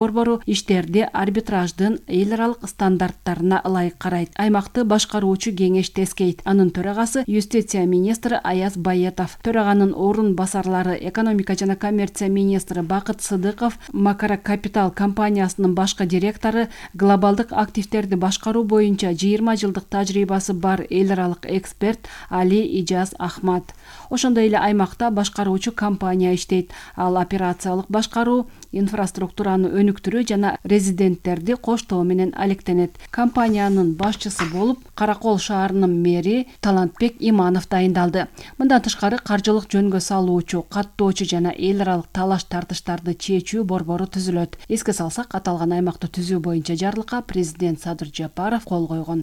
Борбору иштерди арбитраждын эл аралык стандарттарына ылайык карайт. Аймакты башкаруучу кеңеш тескейт. Анын төрагасы юстиция министри Аяз Байетов, төраганын орун басарлары экономика жана коммерция министри Бакыт Сыдыков, Макара Капитал компаниясынын башкы директору, глобалдык активдерди башкаруу боюнча 20 жылдык тажрыйбасы бар эл аралык эксперт Али Ижаз Ахмат. Ошондой эле аймакта башкаруучу компания иштейт. Ал операциялык башкаруу, инфраструктураны өнүктүрүү жана резиденттерди коштоо менен алектенет. Компаниянын башчысы болуп Каракол шаарынын мэри Талантбек Иманов дайындалды. Мындан тышкары каржылык жөнгө салуучу, каттоочу жана эл аралык талаш-тартыштарды чечүү борбору түзүлөт. Эске салсак, аталган аймакты түзүү боюнча жарлыкка президент Садыр Жапаров кол койгон.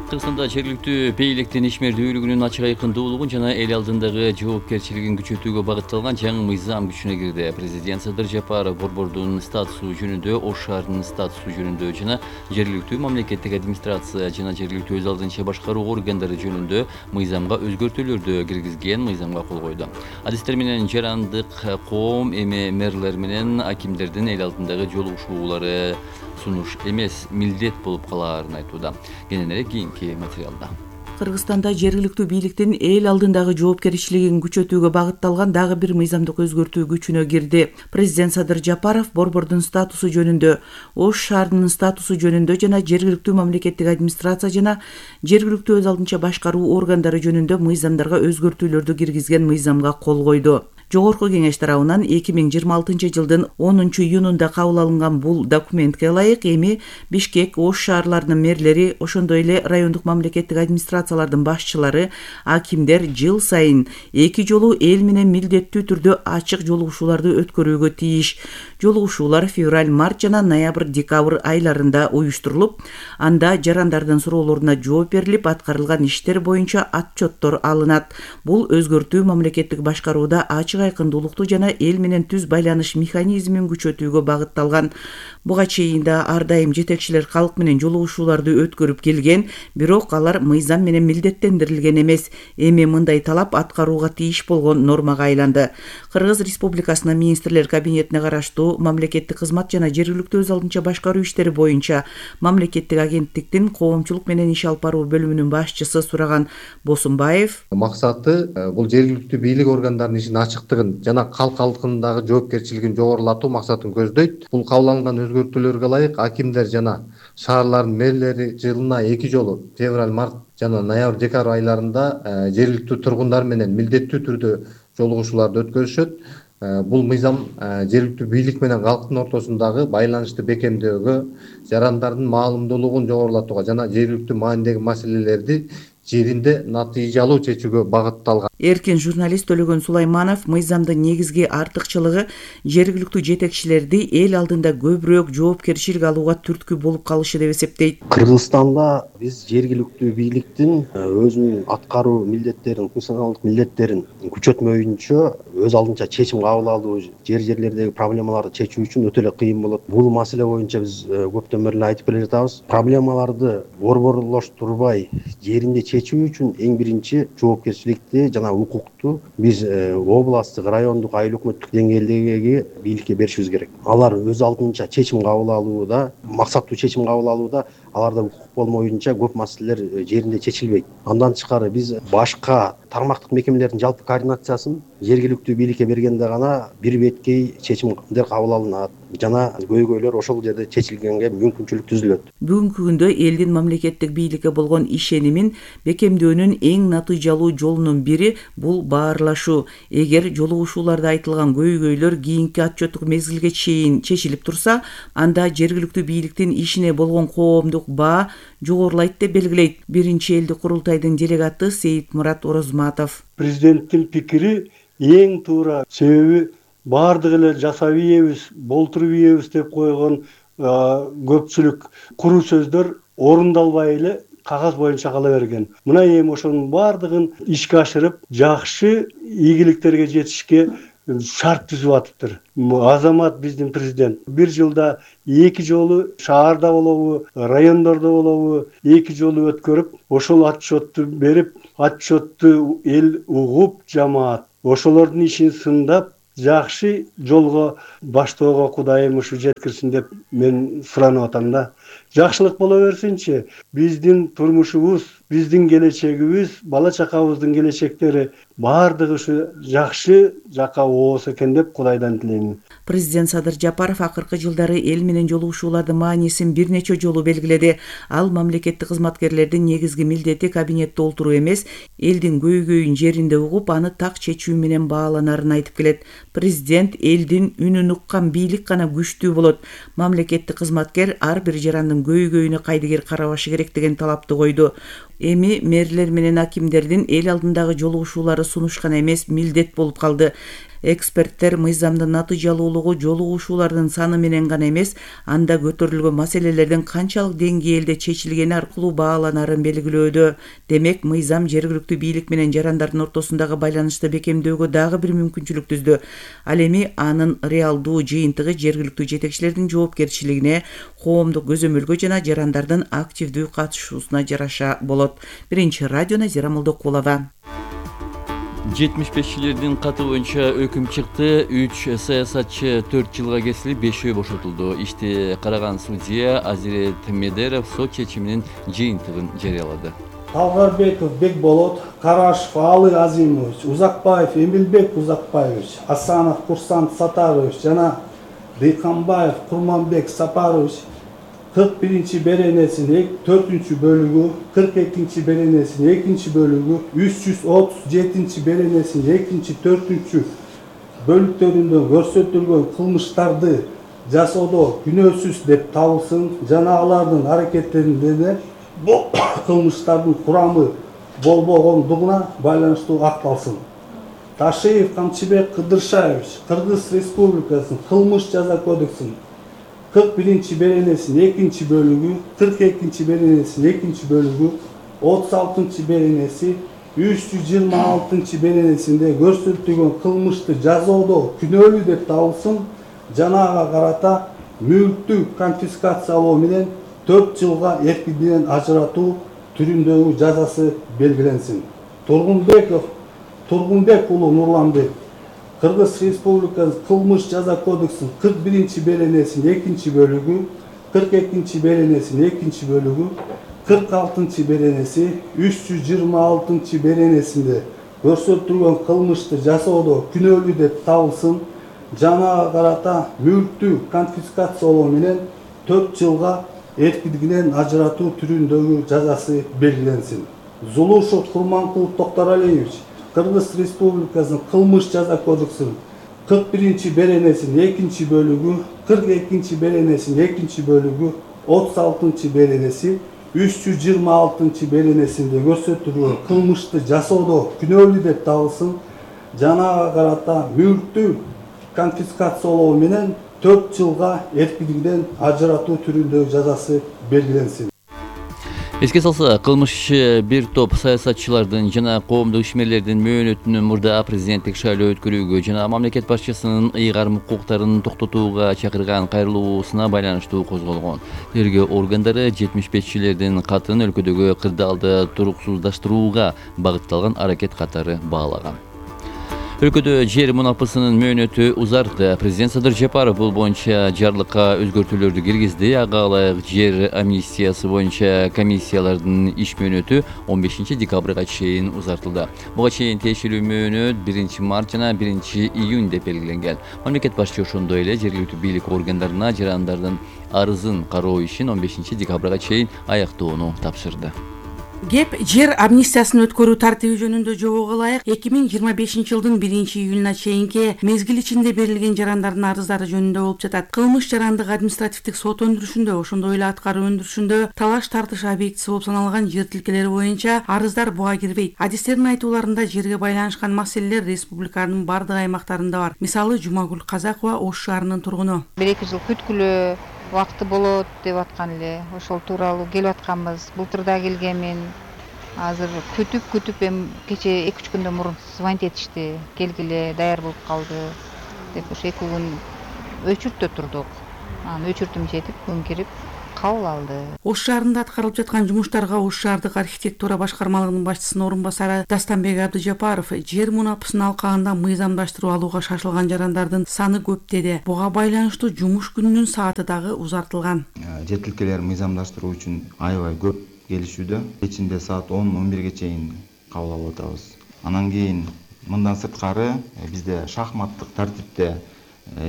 Кыргызстанда жергиликтүү бийликтин ишмердүүлүгүнүн ачык айкындуулугун жана эл алдындагы жоопкерчилигин күчөтүүгө багытталган жаңы мыйзам күчүнө кирди. Президент Садыр Жапаров борбордун статусу жөнүндө, Ош шаарынын статусу жөнүндө жана жергиликтүү мамлекеттик администрация жана жергиликтүү өз алдынча башкаруу органдары жөнүндө мыйзамга өзгөртүүлөрдү киргизген мыйзамга кол койду. Адистер менен жарандык коом эми мэрлер менен акимдердин эл алдындагы жолугушуулары сунуш эмес, милдет болуп калаарын айтууда. Кененирээк кийинки материалда. Кыргызстанда жергиликтүү бийликтин эл алдындагы жоопкерчилигин күчөтүүгө багытталган дагы бир мыйзамдык өзгөртүү күчүнө кирди. Президент Садыр Жапаров борбордун статусу жөнүндө, Ош шаарынын статусу жөнүндө жана жергиликтүү мамлекеттик администрация жана жергиликтүү өз алдынча башкаруу органдары жөнүндө мыйзамдарга өзгөртүүлөрдү киргизген мыйзамга кол койду. Жогорку кеңеш тарабынан 2026 жылдын 10 июнунда кабыл алынган бул документке ылайык эми Бишкек, Ош шаарларынын мэрлери, ошондой эле райондук мамлекеттик администрациялардын башчылары, акимдер жыл сайын 2 жолу эл менен милдеттүү түрдө ачык жолугушууларды өткөрүүгө тийиш. Жолугушуулар февраль, март жана ноябрь, декабрь айларында уюштурулуп, анда жарандардын суроолоруна жооп берилип, аткарылган иштер боюнча отчеттор алынат. Бул өзгөртүү мамлекеттик башкарууда ачык айкындуулукту жана эл менен түз байланыш механизмин күчөтүүгө багытталган. Буга чейин да ар дайым жетекчилер калк менен жолугушууларды өткөрүп келген, бирок алар мыйзам менен милдеттендирилген эмес. Эми мындай талап аткарууга тийиш болгон нормага айланды. Кыргыз Республикасынын министрлер кабинетине караштуу мамлекеттик кызмат жана жергиликтүү өз алдынча башкаруу иштери боюнча мамлекеттик агенттиктин коомчулук менен иш алып баруу бөлүмүнүн башчысы Сураган Босунбаев максаты бул жергиликтүү бийлик органдарынын ишин ачыктыгын жана калк алдындагы жоопкерчилигин жогорулатуу максатын көздөйт. Бул кабыл алынган өзгөртүүлөргө ылайык акимдер жана шаарлардын мэрлери жылына 2 жолу февраль, март жана ноябрь, декабрь айларында жергиликтүү тургундар менен милдеттүү түрдө жолугушууларды өткөрүшөт. Бул мыйзам жергиликтүү бийлик менен калктын ортосундагы байланышты бекемдөөгө, жарандардын маалымдуулугун жогорулатууга жана жергиликтүү маанидеги маселелерди жеринде натыйжалуу чечүүгө багытталган. Эркин журналист Төлөгөн Сулайманов мыйзамдын негизги артыкчылыгы жергиликтүү жетекчилерди эл алдында көбүрөөк жоопкерчилик алууга түрткү болуп калышы деп эсептейт. Кыргызстанда биз жергиликтүү бийликтин өзүнүн аткаруу милдеттерин, функционалдык милдеттерин күчөтмөйүнчө өз алдынча чечим кабыл алуу, жерлердеги проблемаларды чечүү үчүн өтө эле кыйын болот. Бул маселе боюнча биз көптөн бери айтып келе жатабыз. Проблемаларды борборлоштурбай жеринде чечүү үчүн эң биринчи жоопкерчиликти жана укукту биз областтык, райондук, айыл өкмөттүк деңгээлдеги бийликке беришибиз керек. Алар өз алдынча чечим кабыл алууда, максаттуу чечим кабыл алууда аларда укук болмоюнча көп маселелер жеринде чечилбейт. Андан тышкары биз башка тармактык мекемелердин жалпы координациясын жергиликтүү бийликке бергенде гана бир беткей чечимдер кабыл алынат жана көйгөйлөр ошол жерде чечилгенге мүмкүнчүлүк түзүлөт. Бүгүнкү күндө элдин мамлекеттик бийликке болгон ишенимин бекемдөөнүн эң натыйжалуу жолунун бири бул баарлашуу. Эгер жолугушууларда айтылган көйгөйлөр кийинки отчеттук мезгилге чейин чечилип турса, анда жергиликтүү бийликтин ишине болгон коомдук баа жогорулайт деп белгилейт биринчи элдик курултайдын делегаты Сейитмурат Орозматов. Президенттин пикири эң туура, себеби баардык эле жасап ийебиз, болтуруп ийебиз деп койгон көпчүлүк куру сөздөр орундалбай эле кагаз боюнча кала берген. Мына эми ошонун баардыгын ишке ашырып, жакшы ийгиликтерге жетишке шарт түзүп атыптыр. Азамат биздин президент бир жылда 2 жолу шаарда болобу, райондордо болобу 2 жолу өткөрүп, ошол отчетту берип, отчетту эл угуп, жамаат ошолордун ишин сындап, жакшы жолго баштоого Кудайым ушу жеткирсин деп мен суранып атам да. Жакшылык боло берсинчи. Биздин турмушубуз, биздин келечегибиз, бала чакабыздын келечектери баардыгы ушу жакшы жакка оосу экен деп Кудайдан тилеймин. Президент Садыр Жапаров акыркы жылдары эл менен жолугушуулардын маанисин бир нече жолу белгиледи. Ал мамлекеттик кызматкерлердин негизги милдети кабинетте отуруу эмес, элдин көйгөйүн жеринде угуп, аны так чечүү менен бааланарын айтып келет. Президент элдин үнүн уккан бийлик гана күчтүү болот. Мамлекеттик кызматкер ар бир жарандын көйгөйүнө кайдыгер карабашы керек деген талапты койду. Эми мэрлер менен акимдердин эл алдындагы жолугушуулары сунуш гана эмес, милдет болуп калды. Эксперттер мыйзамдын натыйжалуулугу жолугушуулардын саны менен гана эмес, анда көтөрүлгөн маселелердин канчалык деңгээлде чечилгени аркылуу бааланарын белгилөөдө. Демек, мыйзам жергиликтүү бийлик менен жарандардын ортосундагы байланышты бекемдөөгө дагы бир мүмкүнчүлүк түздү. Ал эми анын реалдуу жыйынтыгы жергиликтүү жетекчилердин жоопкерчилигине, коомдук көзөмөлгө жана жарандардын активдүү катышуусуна жараша болот. Биринчи радио Назира Молдокулова. 75-чилердин каты боюнча өкүм чыкты. 3 саясатчы 4 жылга кесилип, 5-өө бошотулду. Ишти караган судья Азирет Медеров сот чечиминин жыйынтыгын жарыялады. Талгарбеков Бекболот, Карашев Алы Азимович, Узакбаев Эмилбек Узакбаевич, Асанов Курсант Сатарович жана Дыйканбаев Курманбек Сапарович 41-ci беренесinin 4-cü bölügü, 42-ci berenesinin 2-ci bölügü, 337-ci berenesinin 2-ci 4-cü bölüklerinde görsetülgen kılmışlardı jasoodо günөөсүз деп табылсын. Жана алардын аракеттеринде де бул кылмыштардын курамы болбогондугуна байланыштуу акталсын. Ташиев Камчыбек Кыдыршаевич Кыргыз Республикасынын кылмыш жаза кодексинин 41-ci berenesinin 2-ci bölügü, 42-ci berenesinin 2-ci bölügü, 36-cı berenesi, 326-cı berenesinde görsetülgen kılmıştı jazoodо күнөөлүү деп табылсын. Жанага карата мүлктү конфискациялоо менен 4 жылга эркиндигинен ажыратуу түрүндөгү жазасы белгиленсин. Тургунбек уулу Нурланбек Кыргыз Республикасынын кылмыш жаза кодексинин 41-ci berenesinin 2-ci bölügü, 42-ci berenesinin 2-ci bölügü, 46-cı berenesi, 326-cı berenesinde көрсөтүлгөн кылмышты жасоодо күнөөлүү деп табылсын. Жанага карата мүлктү конфискациялоо менен 4 жылга эркиндигинен ажыратуу түрүндөгү жазасы белгиленсин. Зулушев Курманкулов Токтаралиевич Кыргыз Республикасынын кылмыш жаза кодексинин 41-ci berenesinin 2-ci bölügü, 42-ci berenesinin 2-ci bölügü, 36-cı berenesi, 326-cı berenesinde көрсөтүлгөн кылмышты жасоодо күнөөлүү деп табылсын. Жанага карата мүлктү конфискациялоо менен 4 жылга эркиндигинен ажыратуу түрүндөгү жазасы белгиленсин. Эске салса, кылмышчы бир топ саясатчылардын жана коомдук ишмерлердин мөөнөтүнөн мурда президенттик шайлоо өткөрүүгө жана мамлекет башчысынын ыйгарым укуктарын токтотууга чакырган кайрылуусуна байланыштуу козголгон. Тергөө органдары 75-чилердин катын өлкөдөгү кырдаалды туруксуздаштырууга багытталган аракет катары баалаган. Өлкөдө жер мунапысынын мөөнөтү узарды. Президент Садыр Жапаров бул боюнча жарлыкка өзгөртүүлөрдү киргизди. Ага ылайык жер амнистиясы боюнча комиссиялардын иш мөөнөтү 15 декабрга чейин узартылды. Буга чейин тиешелүү мөөнөт 1 март жана 1 июнь деп белгиленген. Мамлекет башчы ошондой эле жергиликтүү бийлик органдарына жарандардын арызын кароо ишин 15 декабрга чейин аяктоону тапшырды. Кеп жер амнистиясын өткөрүү тартиби жөнүндө жобого ылайык 2025-жылдын 1 июлуна чейинки мезгил ичинде берилген жарандардын арыздары жөнүндө болуп жатат. Кылмыш жарандык административдик сот өндүрүшүндө, ошондой эле аткаруу өндүрүшүндө талаш тартыш объектиси болуп саналган жер тилкелери боюнча арыздар буга кирбейт. Адистердин айтууларында жерге байланышкан маселелер республиканын бардык аймактарында бар. Мисалы, Жумагүл Казакова Ош шаарынын тургуну. 1-2 жыл күткүлө убакыты болот деп аткан эле. Ошол тууралуу келип атканбыз. Былтырда келгенмин. Азыр күтүп эми кече 2-3 күндөн мурун звонить этишти. Келгиле, даяр болуп калды деп. Ошо 2 күн өчүртө турдук. Анан өчүртүм жетип, күн кирип кабыл алды. Ош шаарында аткарылып жаткан жумуштарга Ош шаардык архитектура башкармалыгынын башчысынын орун басары Дастанбек Абдыжапаров жер мунапысынын алкагында мыйзамдаштыруу алууга шашылган жарандардын саны көп деди. Буга байланыштуу жумуш күнүнүн сааты дагы узартылган. Жер тилкелерин мыйзамдаштыруу үчүн аябай көп келишүүдө. Кечинде саат 10-11ге чейин кабыл алып атабыз. Анан кийин мындан сырткары бизде шахматтык тартипте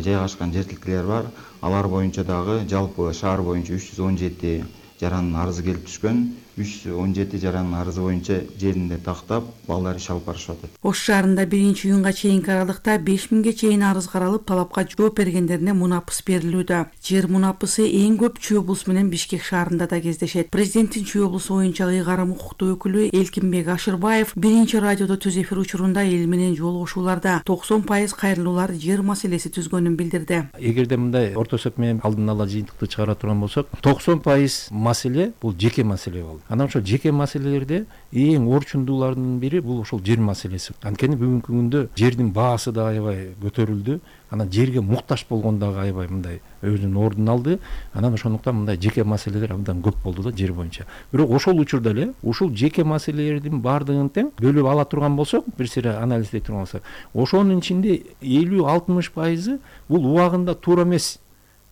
жайгашкан жер тилкелер бар. Алар боюнча дагы жалпы шаар боюнча 317 жарандын арызы келип түшкөн. 317 жарандын арызы боюнча жеринде тактап, балдар иш алып барышып атат. Ош шаарында 1-июнга чейинки аралыкта 5000ге чейин арыз каралып, талапка жооп бергендерине мунапыс берилүүдө. Жер мунапысы эң көп Чүй облусу менен Бишкек шаарында да кездешет. Президенттин Чүй облусу боюнча ыйгарым укуктуу өкүлү Элкинбек Ашырбаев биринчи радиодо түз эфир учурунда эл менен жолугушууларда 90% кайрылуулар жер маселеси түзгөнүн билдирди. Эгерде мындай орто эсеп менен алдын ала жыйынтыкты чыгара турган болсок, 90% маселе бул жеке маселе болду. Анан ошол жеке маселелерде эң орчундуулардын бири бул ошол жер маселеси. Анткени бүгүнкү күндө жердин баасы да аябай көтөрүлдү. Анан жерге муктаж болгон дагы аябай мындай өзүнүн ордун алды. Анан ошондуктан мындай жеке маселелер абдан көп болду да жер боюнча. Бирок ошол учурда эле ушул жеке маселелердин баардыгын тең бөлүп ала турган болсок, бир сыйра анализдей турган болсок, ошонун ичинде 50-60% бул убагында туура эмес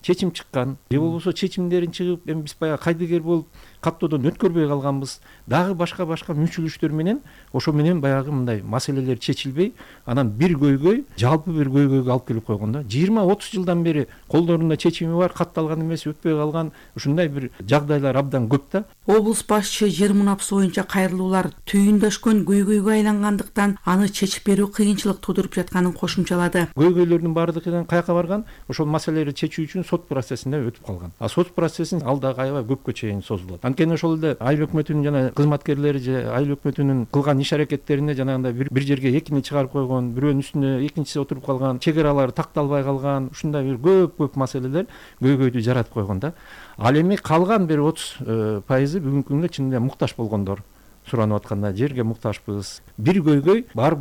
чечим чыккан. Же болбосо чечимдерин чыгып, эми биз баягы кайдыгер болуп каттоодон өткөрбөй калганбыз. Дагы башка мүчүлүштөр менен ошо менен баягы мындай маселелер чечилбей, анан бир көйгөй жалпы бир көйгөйгө алып келип койгондо 20-30 жылдан бери колдорунда чечими бар, катталган эмес, өтпөй калган ушундай бир жагдайлар абдан көп да. Облус башчысы жер мунапысы боюнча кайрылуулар түйүндөшкөн көйгөйгө айлангандыктан аны чечип берүү кыйынчылык туудуруп жатканын кошумчалады. Көйгөйлөрдүн баардыгы каяка барган? Ошол маселелерди чечүү үчүн сот процессинде өтүп калган. А сот процессин ал дагы аябай көпкө чейин созулат. Анткени ошол эле айыл өкмөтүнүн жана кызматкерлери же айыл өкмөтүнүн кылган иш аракеттерине жанагындай бир жерге экини чыгарып койгон, бирөөнүн үстүнө экинчиси отуруп калган, чек аралары такталбай калган, ушундай бир көп маселелер көйгөйдү жаратып койгон да. Ал эми калган бир 30% бүгүнкү күндө чынында муктаж болгондор суранып атканда жерге муктажбыз. Бир көйгөй барып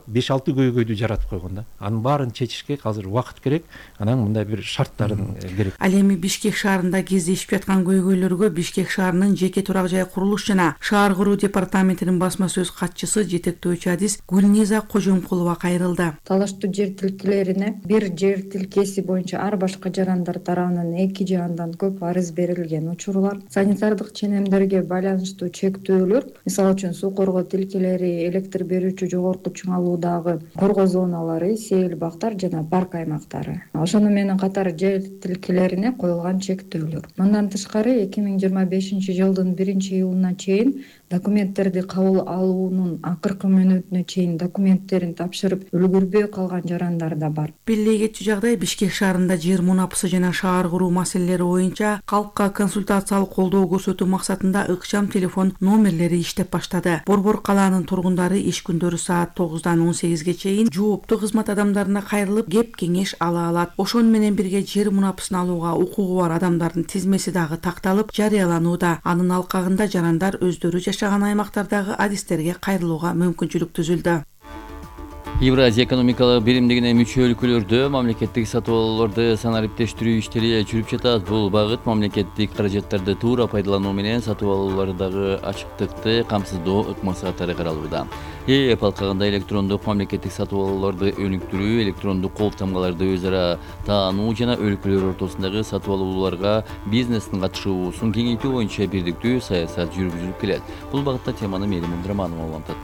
5-6 көйгөйдү жаратып койгон да. Анын баарын чечишке азыр убакыт керек, анан мындай бир шарттарын керек. Ал эми Бишкек шаарында кездешип жаткан көйгөйлөргө Бишкек шаарынын жеке турак жай курулуш жана шаар куруу департаментинин басма сөз катчысы жетектөөчү адис Гүлниза Кожомкулова кайрылды. Талаштуу жер тилкелерине бир жер тилкеси боюнча ар башка жарандар тарабынан 2 же андан көп арыз берилген учурлар, санитардык ченемдерге байланыштуу чектөөлөр, мисалы үчүн суу коргоо тилкелери, электр берүүчү жогорку чыңалуудагы коргоо зоналары, сейил бактар жана парк аймактары. Ошону менен катар жер тилкелерине коюлган чектөөлөр. Мындан тышкары 2025 жылдын 1-июлуна чейин документтерди кабыл алуунун акыркы мүнөтүнө чейин документтерин тапшырып үлгүрбөй калган жарандар да бар. Бирдей кетчү жагдай Бишкек шаарында жер мунапысы жана шаар куруу маселелери боюнча калкка консультациялык колдоо көрсөтүү максатында ыкчам телефон номерлери иштеп баштады. Борбор калаанын тургундары иш күндөрү саат 9-дан 18-ге чейин жооптуу кызмат адамдарына кайрылып кеп кеңеш ала алат. Ошону менен бирге жер мунапысын алууга укугу бар адамдардын тизмеси дагы такталып жарыяланууда. Анын алкагында жарандар өздөрү жашаган аймактардагы адистерге кайрылууга мүмкүнчүлүк түзүлдү. Евразия экономикалык биримдигине мүчө өлкөлөрдө мамлекеттик сатып алууларды санариптештирүү иштери жүрүп жатат. Бул багыт мамлекеттик каражаттарды туура пайдалануу менен сатып алуулардагы ачыктыкты камсыздоо ыкмасы катары каралууда. ЭЭП алкагында электрондук мамлекеттик сатып алууларды өнүктүрүү, электрондук кол тамгаларды өз ара таануу жана өлкөлөр ортосундагы сатып алууларга бизнестин катышуусун кеңейтүү боюнча бирдиктүү саясат жүргүзүлүп келет. Бул багытта теманы Мээрим Абдыраманова улантат.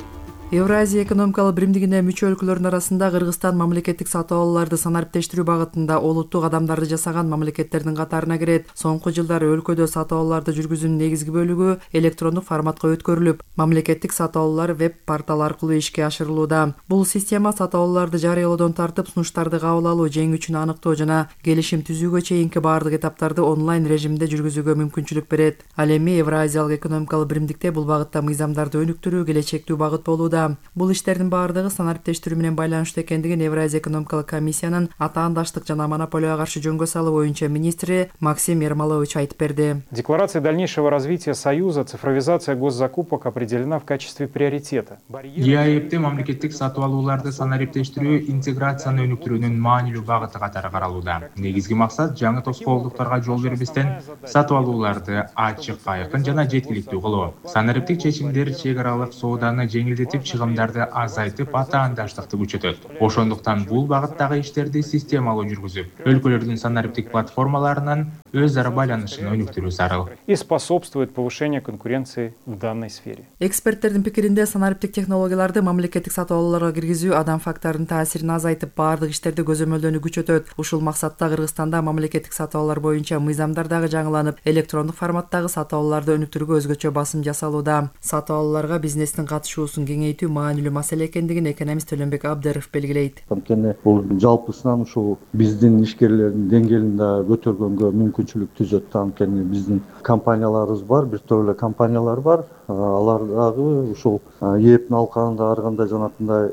Евразия экономикалык биримдигине мүчө өлкөлөрдүн арасында Кыргызстан мамлекеттик сатып алууларды санариптештирүү багытында олуттуу кадамдарды жасаган мамлекеттердин катарына кирет. Соңку жылдары өлкөдө сатып алууларды жүргүзүүнүн негизги бөлүгү электрондук форматка өткөрүлүп, мамлекеттик сатып алуулар веб-портал аркылуу ишке ашырылууда. Бул система сатып алууларды жарыялоодон тартып, сунуштарды кабыл алуу, жеңүүчүнү аныктоо жана келишим түзүүгө чейинки баардык этаптарды онлайн режимде жүргүзүүгө мүмкүнчүлүк берет. Ал эми Евразиялык экономикалык биримдикте бул багытта мыйзамдарды өнүктүрүү келечектүү багыт болууда. алууда. Бул иштердин баардыгы санариптештирүү менен байланыштуу экендигин Евразия экономикалык комиссиянын атаандаштык жана монополияга каршы жөнгө салуу боюнча министри Максим Ермолович айтып берди. Декларация дальнейшего развития Союза цифровизация госзакупок определена в качестве приоритета. ЕАЭПте мамлекеттик сатып алууларды санариптештирүү интеграцияны өнүктүрүүнүн маанилүү багыты катары каралууда. Негизги максат жаңы тоскоолдуктарга жол бербестен сатып алууларды ачык, айкын жана жеткиликтүү кылуу. Санариптик чечимдер чек аралык сооданы жеңилдетип, чыгымдарды азайтып, атаандаштыкты күчөтөт. Ошондуктан бул багыттагы иштерди системалуу жүргүзүп, өлкөлөрдүн санариптик платформаларынын өз ара байланышын өнүктүрүү зарыл. И способствует повышению конкуренции в данной сфере. Эксперттердин пикиринде санариптик технологияларды мамлекеттик сатып алууларга киргизүү адам факторунун таасирин азайтып, баардык иштерди көзөмөлдөөнү күчөтөт. Ушул максатта Кыргызстанда мамлекеттик сатып алуулар боюнча мыйзамдар дагы жаңыланып, электрондук форматтагы сатып алууларды өнүктүрүүгө өзгөчө басым жасалууда. Сатып алууларга бизнестин катышуусун кеңейтүү маанилүү маселе экендигин экономист Төлөнбек Абдыров белгилейт. Анткени бул жалпысынан ушул биздин ишкерлердин деңгээлин да көтөргөнгө мүмкүнчүлүк түзөт. Анткени биздин компанияларыбыз бар, бир топ эле компаниялар бар. Алар дагы ушул ЕЭПтин алкагында ар кандай жанакындай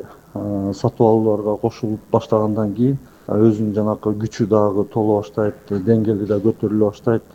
сатып алууларга кошулуп баштагандан кийин өзүнүн жанакы күчү дагы толо баштайт, деңгээли да көтөрүлө баштайт.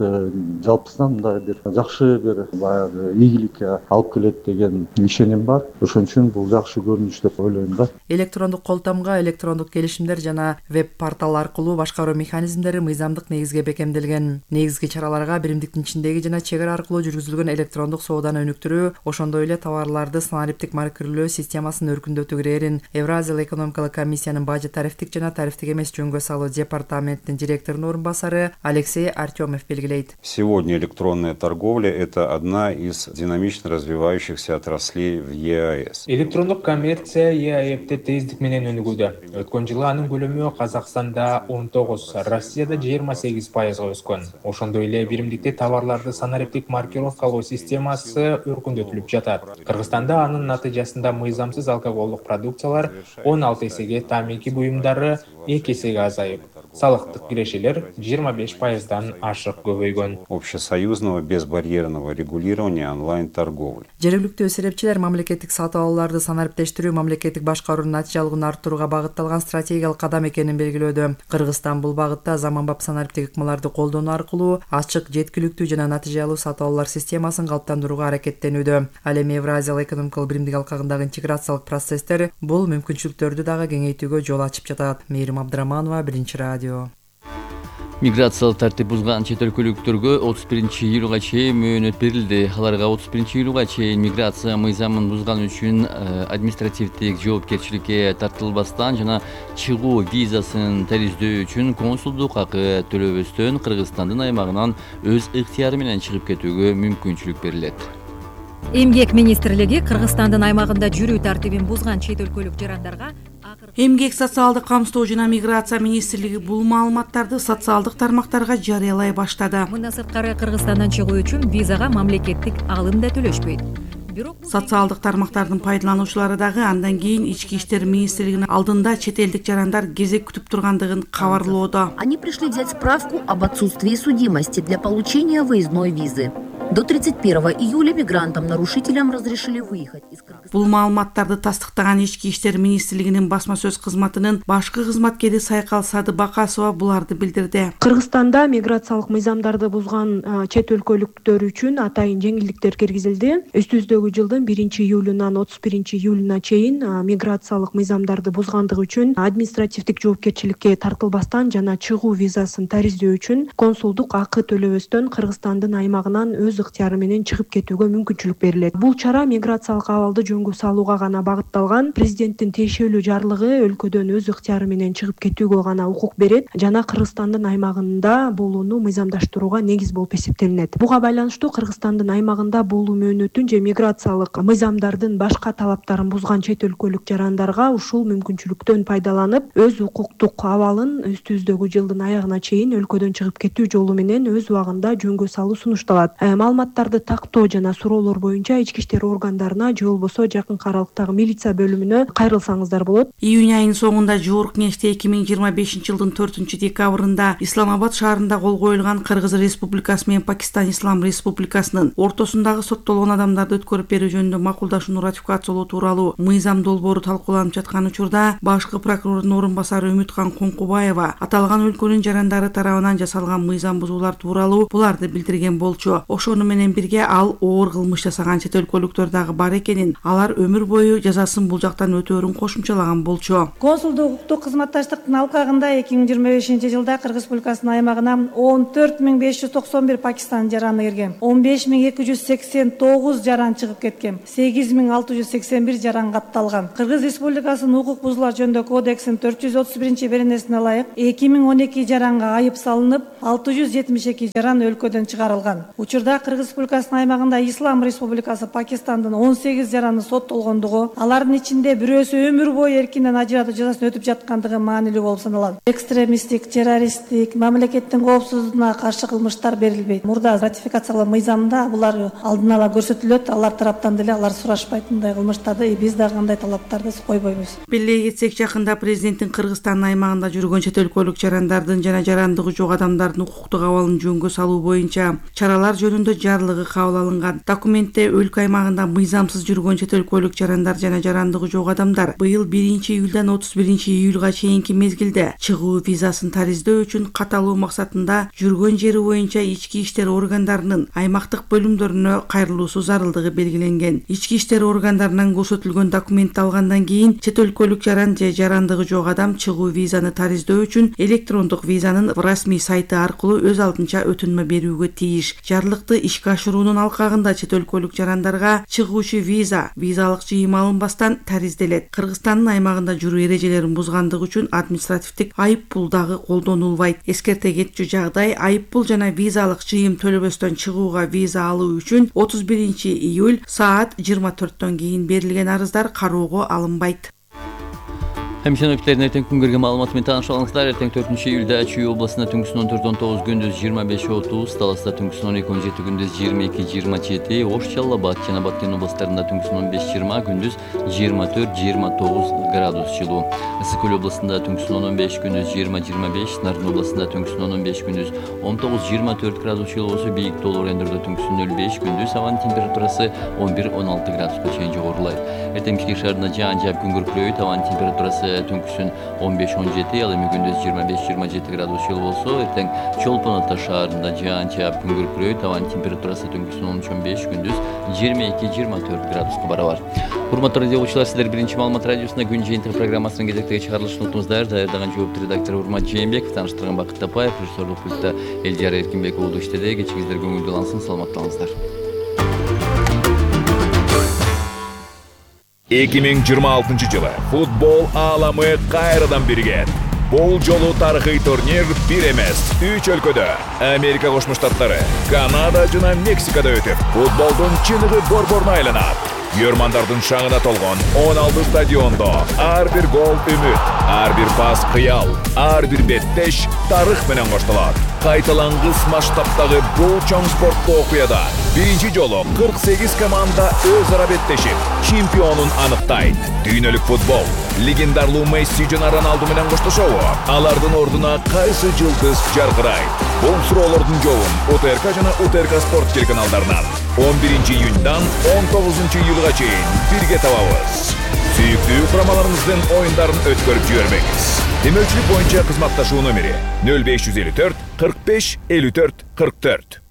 Жалпысынан мындай бир жакшы бир баягы ийгиликке алып келет деген ишеним бар. Ошон үчүн бул жакшы көрүнүш деп ойлойм да. Электрондук колтомго, электрондук келишимдер жана веб-портал аркылуу башкаруу механизмдери мыйзамдык негизге бекемделген. Негизги чараларга биримдиктин ичиндеги жана чек ара аркылуу жүргүзүлгөн электрондук сооданы өнүктүрүү, ошондой эле товарларды санариптик маркирлөө системасын өркүндөтүү кирерин Евразия экономикалык комиссиянын бажы тарифтик жана тарифтик жөнгө салуу департаментинин директорунун орун басары Алексей Артемов белгилейт. Сегодня электронная торговля – это одна из динамично развивающихся отраслей в ЕАЭС. Электрондук коммерция ЕАЭПте тездик менен өнүгүүдө. Өткөн жылы анын көлөмү Казакстанда 19, Россияда 28% өскөн. Ошондой эле биримдикте товарларды санариптик маркировкалоо системасы өркүндөтүлүп жатат. Кыргызстанда анын натыйжасында мыйзамсыз алкоголдук продукциялар 16 эсеге, тамеки буюмдары 2 эсеге азайып, салыктык кирешелер 25%дан ашык көбөйгөн. Общесоюзного безбарьерного регулирования онлайн-торговли. Жергиликтүү эсепчилер мамлекеттик сатып алууларды санариптештирүү мамлекеттик башкаруунун натыйжалуулугун арттырууга багытталган стратегиялык кадам экенин белгилөөдө. Кыргызстан бул багытта заманбап санариптик ыкмаларды колдонуу аркылуу ачык, жеткиликтүү жана натыйжалуу сатып алуулар системасын калыптандырууга аракеттенүүдө. Ал эми Евразия экономикалык биримдик алкагындагы интеграциялык процесстер бул мүмкүнчүлүктөрдү дагы кеңейтүүгө жол ачып жатат. Мээрим Абдыраманова, Биринчи радио. Миграциялык тартип бузган чет өлкөлүктөргө 31-июлга чейин мөөнөт берилди. Аларга 31-июлга чейин миграция мыйзамын бузган үчүн административдик жоопкерчиликке тартылбастан жана чыгуу визасын тариздөө үчүн консулдук акы төлөбөстөн Кыргызстандын аймагынан өз ыктыяры менен чыгып кетүүгө мүмкүнчүлүк берилет. Эмгек министрлиги Кыргызстандын аймагында жүрүү тартибин бузган чет өлкөлүк жарандарга Эмгек социалдык камсыздоо жана миграция министрлиги бул маалыматтарды социалдык тармактарга жарыялай баштады. Мындан сырткары Кыргызстандан чыгуу үчүн визага мамлекеттик алым да төлөшпөйт. Социалдык тармактардын пайдалануучулары дагы андан кийин Ички иштер министрлигинин алдында чет элдик жарандар кезек күтүп тургандыгын кабарлоодо. Они пришли взять справку об отсутствии судимости для получения выездной визы. До 31 июля мигрантам-нарушителям разрешили выехать из Кыргызстана. Бул маалыматтарды тастыктаган Ички иштер министрлигинин басма сөз кызматынын башкы кызматкери Сайкал Садыбакасова буларды билдирди. Кыргызстанда миграциялык мыйзамдарды бузган чет өлкөлүктөр үчүн атайын жеңилдиктер киргизилди. Өстүбүздөгү жылдын 1-июлунан 31-июлуна чейин миграциялык мыйзамдарды бузгандыгы үчүн административдик жоопкерчиликке тартылбастан жана чыгуу визасын тариздөө үчүн консулдук акы төлөбөстөн Кыргызстандын аймагынан өз ыктыяры менен чыгып кетүүгө мүмкүнчүлүк берилет. Бул чара миграциялык абалды жөнгө салууга гана багытталган. Президенттин тиешелүү жарлыгы өлкөдөн өз ыктыяры менен чыгып кетүүгө гана укук берет жана Кыргызстандын аймагында болууну мыйзамдаштырууга негиз болуп эсептелинет. Буга байланыштуу Кыргызстандын аймагында болуу мөөнөтүн же миграциялык мыйзамдардын башка талаптарын бузган чет өлкөлүк жарандарга ушул мүмкүнчүлүктөн пайдаланып, өз укуктук абалын өстүбүздөгү жылдын аягына чейин өлкөдөн чыгып кетүү жолу менен өз убагында жөнгө салуу сунушталат. маалыматтарды тактоо жана суроолор боюнча ички иштер органдарына же болбосо жакынкы аралыктагы милиция бөлүмүнө кайрылсаңыздар болот. Июнь айынын соңунда Жогорку Кеңеште 2025 жылдын 4-декабрында Исламабад шаарында кол коюлган Кыргыз Республикасы менен Пакистан Ислам Республикасынын ортосундагы соттолгон адамдарды өткөрүп берүү жөнүндө макулдашууну ратификациялоо тууралуу мыйзам долбоору талкууланып жаткан учурда башкы прокурордун орун басары Үмүткан Коңкубаева аталган өлкөнүн жарандары тарабынан жасалган мыйзам бузуулар тууралуу буларды билдирген болчу. Ошону менен бирге ал оор кылмыш жасаган чет өлкөлүктөр дагы бар экенин, алар өмүр бою жазасын бул жактан өтөөрүн кошумчалаган болчу. Консулдук укуктук кызматташтыктын алкагында 2025 жылда Кыргыз Республикасынын аймагына 14.591 Пакистан жараны кирген, 15.289 жаран чыгып кеткен, 8.681 жаран катталган. Кыргыз Республикасынын укук бузуулар жөнүндө кодексинин 431 беренесине ылайык 2012 жаранга айып салынып, 672 жаран өлкөдөн чыгарылган. Учурда Кыргыз Республикасынын аймагында Ислам Республикасы Пакистандын 18 жараны соттолгондугу, алардын ичинде бирөөсү өмүр бою эркинен ажыратуу жазасын өтүп жаткандыгы маанилүү болуп саналат. Экстремисттик, террористтик, мамлекеттин коопсуздугуна каршы кылмыштар берилбейт. Мурда ратификациялоо мыйзамында булар алдын ала көрсөтүлөт, алар тараптан деле алар сурашпайт мындай кылмыштарды, биз дагы кандай талаптарды койбойбуз. Беле кетсек, жакында президенттин Кыргызстандын аймагында жүргөн чет өлкөлүк жарандардын жана жарандыгы жок адамдардын укуктук абалын жөнгө салуу боюнча чаралар жөнүндө жарлыгы кабыл алынган. Документте өлкө аймагында мыйзамсыз жүргөн чет өлкөлүк жарандар жана жарандыгы жок адамдар быйыл 1-июлдан 31-июлга чейинки мезгилде чыгуу визасын тариздөө үчүн каталуу максатында жүргөн жери боюнча ички иштер органдарынын аймактык бөлүмдөрүнө кайрылуусу зарылдыгы белгиленген. Ички иштер органдарынан көрсөтүлгөн документти алгандан кийин чет өлкөлүк жаран же жарандыгы жок адам чыгуу визаны тариздөө үчүн электрондук визанын расмий сайты аркылуу өз алдынча өтүнмө берүүгө тийиш. Жарлыкты ишке ашыруунун алкагында чет өлкөлүк жарандарга чыгуучу визалык жыйым алынбастан таризделет. Кыргызстандын аймагында жүрүү эрежелерин бузгандыгы үчүн административдик айып пул дагы колдонулбайт. Эскерте кетчү жагдай айып пул жана визалык жыйым төлөбөстөн чыгууга виза алуу үчүн 31-июль саат 24төн кийин берилген арыздар кароого алынбайт. Хемшеновчилердин эртең күнгөргө маалыматы менен таанышып алыңыздар. Эртең 4-июлда Чүй областында түнкүсүн 14-19, күндүз 25-30, Таласта түнкүсүн 12-17, күндүз 22-27, Ош, Жалал Абад жана Баткен областарында түнкүсүн 15-20, күндүз 24-29 градус жылуу. Ысык Көл областында түнкүсүн 15, күндүз 20-25, Нарын областында түнкүсүн 15, күндүз 19-24 градус жылуусу, бийик тоолуу райондордо түнкүсүн 05, күндүз абанын температурасы 11-16 градуска чейин жогорулайт. Эртең Бишкек шаарында жаан жаап күн күркүрөйт, абанын температурасы түнкүсүн 15-17, ал эми күндүз 25-27 градус жылуу болсо, эртең Чолпон Ата шаарында жаан жаап күн күркүрөйт, абанын температурасы түнкүсүн 13-15, күндүз 22-24 градуска барабар. Урматтуу радио угуучулар, сиздер биринчи маалымат радиосуна күн жыйынтыгы программасынын кезектеги чыгарылышын уктуңуздар. Даярдаган жооптуу редактор Урмат Жээнбеков, тааныштырган Бакыт Тапаев, режиссерлук пультта Элдияр Эркинбек уулу иштеди. Кечиңиздер көңүлдүү алынсын, саламатталыңыздар. 2026 жылы футбол ааламы кайрадан биригет. Бул жолу тарыхый турнир бир эмес, 3 өлкөдө Америка Кошмо Штаттары, Канада жана Мексикада өтүп, футболдун чыныгы борборуна айланат. Көрмандардын шаңына толгон 16 стадиондо ар бир гол үмүт, ар бир пас кыял, ар бир беттеш тарых менен коштолот. Кайталангыс масштабтагы бул чоң спорттук окуяда биринчи жолу 48 команда өз ара беттешип, чемпионун аныктайт. Дүйнөлүк футбол легендарлуу Месси жана Роналду менен коштошобу? Алардын ордуна кайсы жылдыз жаркырайт? Бул суроолордун жообун УТРК жана УТРК спорт телеканалдарынан 11-июньдан 19-июлга чейин бирге табабыз. Сүйүктүү курамаларыңыздын оюндарын өткөрүп жибербеңиз. Демөчүлүк боюнча кызматташуу номери 0554 45 54 44.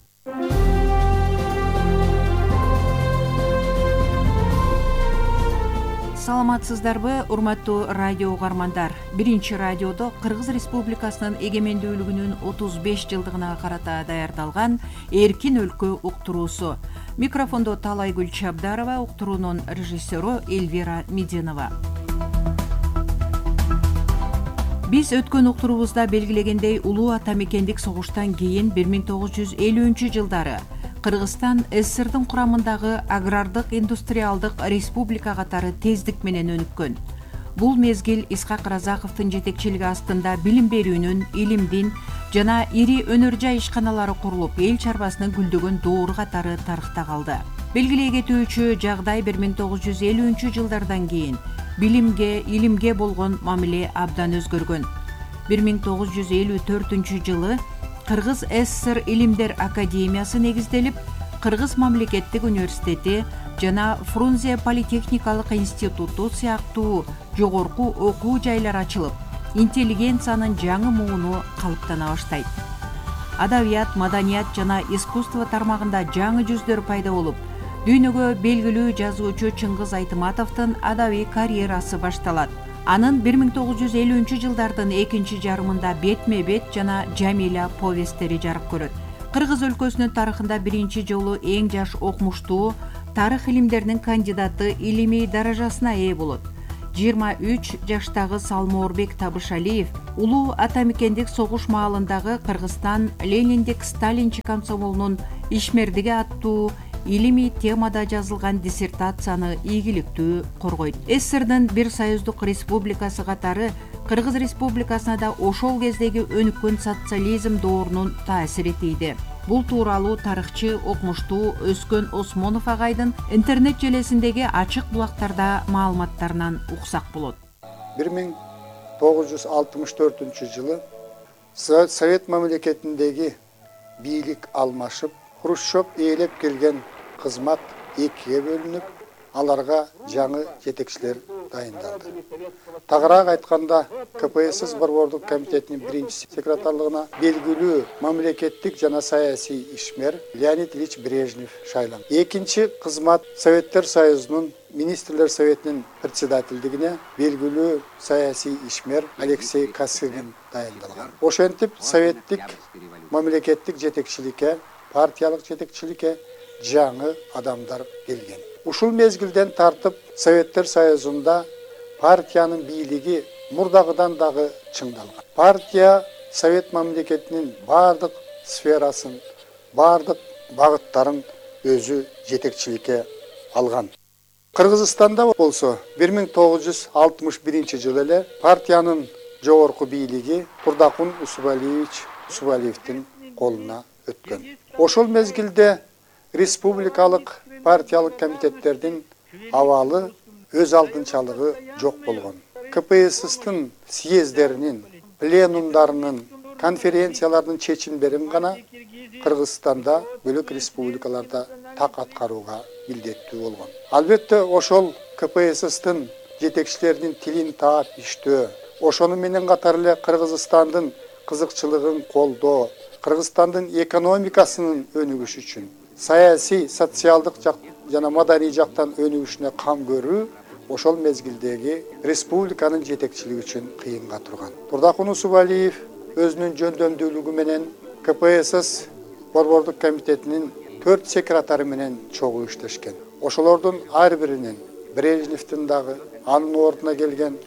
Саламатсыздарбы, урматтуу радио угармандар. Биринчи радиодо Кыргыз Республикасынын эгемендүүлүгүнүн 35 жылдыгына карата даярдалган Эркин өлкө уктуруусу. Микрофондо Талайгүл Чабдарова, уктуруунун режиссеру Эльвира Мединова. Биз өткөн уктуруубузда белгилегендей, улуу ата мекендик согуштан кийин 1950 жылдары Кыргызстан СССРдин курамындагы агрардык индустриалдык республика катары тездик менен өнүккөн. бул мезгил Исхак Разаковдун жетекчилиги астында билим берүүнүн, илимдин жана ири өнөр жай ишканалары курулуп, эл чарбасынын гүлдөгөн доору катары тарыхта калды. Белгилей кетүүчү жагдай 1950-жылдардан кийин билимге, илимге болгон мамиле абдан өзгөргөн. 1954-жылы Кыргыз ССР Илимдер академиясы негизделип, Кыргыз мамлекеттик университети жана Фрунзе политехникалык институту сыяктуу жогорку окуу жайлар ачылып, интеллигенциянын жаңы мууну калыптана баштайт. Адабият, маданият жана искусство тармагында жаңы жүздөр пайда болуп, дүйнөгө белгилүү жазуучу Чыңгыз Айтыматовдун адабий карьерасы башталат. Анын 1950-жылдардын экинчи жарымында Бетме-бет жана Жамиля повесттери жарык көрөт. Кыргыз өлкөсүнүн тарыхында биринчи жолу эң жаш окумуштуу тарых илимдеринин кандидаты илимий даражасына ээ болот. 23 жаштагы Салмоорбек Табышалиев улуу атамекендик согуш маалындагы Кыргызстан Лениндик-Сталинчи комсомолунун ишмердиги аттуу илимий темада жазылган диссертацияны ийгиликтүү коргойт. СССРдин бир союздук республикасы катары Кыргыз республикасына да ошол кездеги өнүккөн социализм доорунун таасири тийди. Бул тууралуу тарыхчы, окумуштуу Өскөн Осмонов агайдын интернет желесиндеги ачык булактарда маалыматтарынан уксак болот. 1964-жылы Совет мамлекетиндеги бийлик алмашып, Хрущев ээлеп келген кызмат экиге бөлүнүп, аларга жаңы жетекчилер дайындалды. Тагыраак айтканда, КПСС Борбордук комитетинин биринчи секретарлыгына белгилүү мамлекеттик жана саясий ишмер Леонид Ильич Брежнев шайланды. Экинчи кызмат Советтер Союзунун Министрлер Советинин председательдигине белгилүү саясий ишмер Алексей Косыгин дайындалган. Ошентип советтик мамлекеттик жетекчиликке, партиялык жетекчиликке жаңы адамдар келген. Ушул мезгилден тартып Советтер Союзунда партиянын бийлиги мурдагыдан дагы чыңдалган. Партия Совет мамлекетинин бардык сферасын, бардык багыттарын өзү жетекчиликке алган. Кыргызстанда болсо 1961-жылы эле партиянын жогорку бийлиги Курдакун Усубалиевдин колуна өткөн. Ошол мезгилде республикалык партиялык комитеттердин абалы өз алдынчалыгы жок болгон. КПССтин съездеринин, пленумдарынын, конференциялардын чечимдерин гана Кыргызстанда бөлөк республикаларда так аткарууга милдеттүү болгон. Албетте ошол КПССтин жетекчилеринин тилин таап иштөө, ошону менен катар эле Кыргызстандын кызыкчылыгын колдоо, Кыргызстандын экономикасынын өнүгүшү үчүн, саясий, социалдык жана маданий жактан өнүгүшүнө кам көрүү ошол мезгилдеги республиканын жетекчилиги үчүн кыйынга турган. Турдакун Усубалиев өзүнүн жөндөмдүүлүгү менен КПСС Борбордук комитетинин 4 секретары менен чогуу иштешкен. Ошолордун ар биринин Брежневдин дагы, анын ордуна келген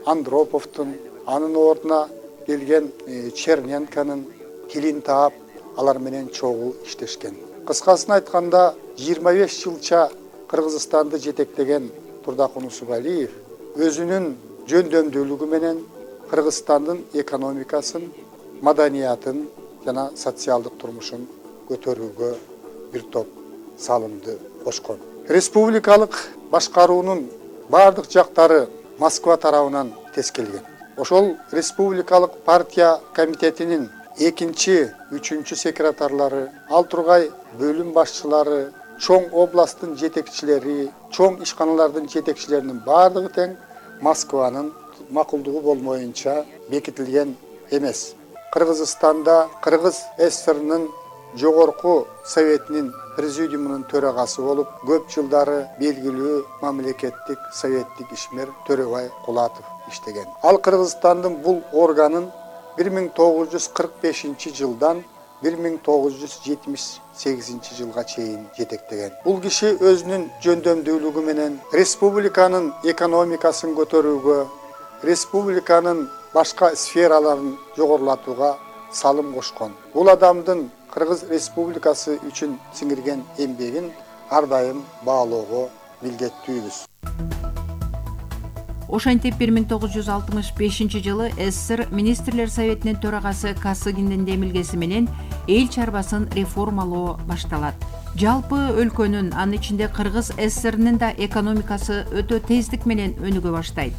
Андроповдун, анын ордуна келген Черненконун тилин таап, алар менен чогуу иштешкен. Кыскасын айтканда, 25 жылча Кыргызстанды жетектеген Турдакун Усубалиев өзүнүн жөндөмдүүлүгү менен Кыргызстандын экономикасын, маданиятын жана социалдык турмушун көтөрүүгө бир топ салымды кошкон. Республикалык башкаруунун бардык жактары Москва тарабынан тескелген. Ошол республикалык партия комитетинин экинчи, үчүнчү секретарлары, ал тургай бөлүм башчылары, чоң областтын жетекчилери, чоң ишканалардын жетекчилеринин бардыгы тең Москванын макулдугу болмоюнча бекитилген эмес. Кыргызстанда Кыргыз ССРнын жогорку советинин президиумунун төрагасы болуп, көп жылдары белгилүү мамлекеттик советтик ишмер Төрөбай Кулатов иштеген. Ал Кыргызстандын бул органын 1945-жылдан 1978 жылга чейин жетектеген. Бул киши өзүнүн жөндөмдүүлүгү менен республиканын экономикасын көтөрүүгө, республиканын башка сфераларын жогорулатууга салым кошкон. Бул адамдын Кыргыз Республикасы үчүн сиңирген эмгегин ар дайым баалоого милдеттүүбүз. Ошентип 1965 жылы СССР министрлер советинин төрагасы Косыгиндин демилгеси менен эл чарбасын реформалоо башталат. Жалпы өлкөнүн, анын ичинде Кыргыз СССРнин да экономикасы өтө тездик менен өнүгө баштайт.